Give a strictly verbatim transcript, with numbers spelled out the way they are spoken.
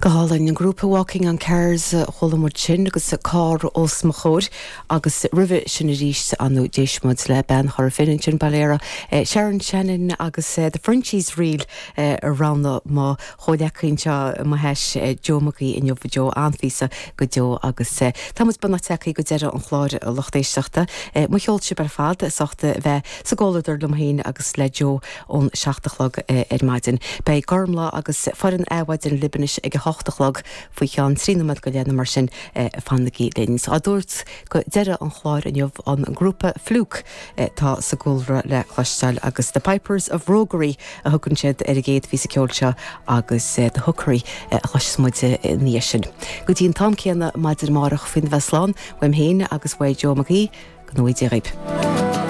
Go hálainn an grúpa Walking on Cars chuala muid sin agus carr os mo chomhair agus roimhe sin arís anú d'éist muid le bean Chora Finne sin Bailera Sharon Shannon agus The Frenchies Reel a roghnaigh mo chomhghleacaí anseo mo théis Joe McGee inniu Joe an-phíosa go deo agus tá muid beagnach tagtha go deireadh an chláir lucht éisteachta mo cheol sibh ar fad as ucht bheith sa gcomhluadar liom féin agus le Joe ón seacht a chlog ar maidin. Beidh Gormfhlaith agus foireann Adhmhaidin libh anois ag a hocht a chlog faoi cheann trí nóiméad go leith mar sin fanaigí linn. Á dúirt go deireadh an chláir inniu an grúpa Fluke tá sa gcúlra le cloisteáil agus The Pipers of Roguery a thugann siad ar an gcéad phíosa ceoil seo agus The Hookery a chloisfidh muid ina dhiaidh sin. Go dtí an t-am céanna maidin amárach faoina bheith slán, uaim féin agus uaidh Joe McGee go ngnóthaí Dia dhaoibh.